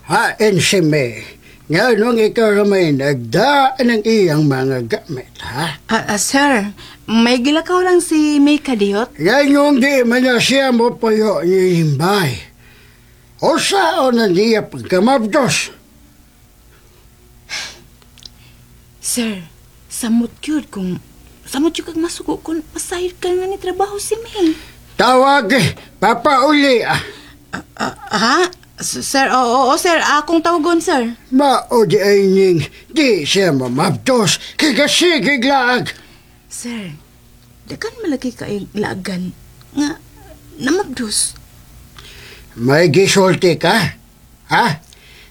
Hain si May. Nganong ikaw ramay nagdaan ang iyang mga gamit, ha? Sir, may gilakaw lang si May Kadiyot. Yan yung di man na siya mo payo ni Imbay. O saan na niya pagkamabdos? Sir, samot gyud kung samot gyud kag masugo kung pasayod ka nga ni trabaho si May. Tawag, eh, papauli ah. Ha? Sir, oo, oo, sir, akong tawagon, sir. Mao di ay ning di siya mamabdos, kagasigig laag. Sir, dagan malaki kay laagan nga namabdos. May gisulti ka? Ha?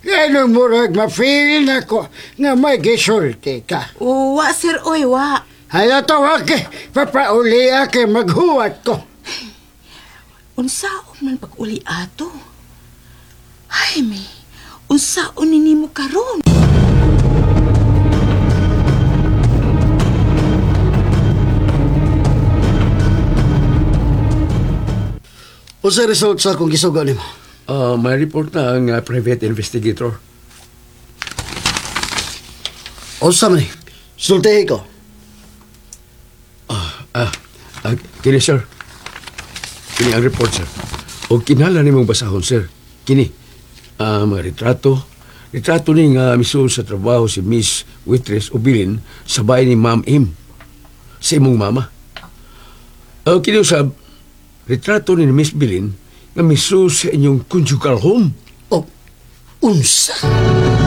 Ganun murag ma-feel na ko nga may gisulti ka. Wa, sir, oy, wa. Hala tawag, eh, papauli ah, kay maghuwat ko. Unsaon man pag-uli ato? Ay, May, unsaon ni nimo karon? Unsa result sa akong gisugo nimo? May report na ang private investigator. Unsa man ni? Sultihi ko. Kini, sir. Kini ang report, sir. O kinahanglan nimong basahon, sir. Kini, mga retrato. Retrato ni nga misul sa trabaho si Miss Waitress Obilin sa bahay ni Ma'am Im. Sa imong mama. Kini usab, retrato ni Miss Bilin nga misul sa inyong conjugal home. O, unsa?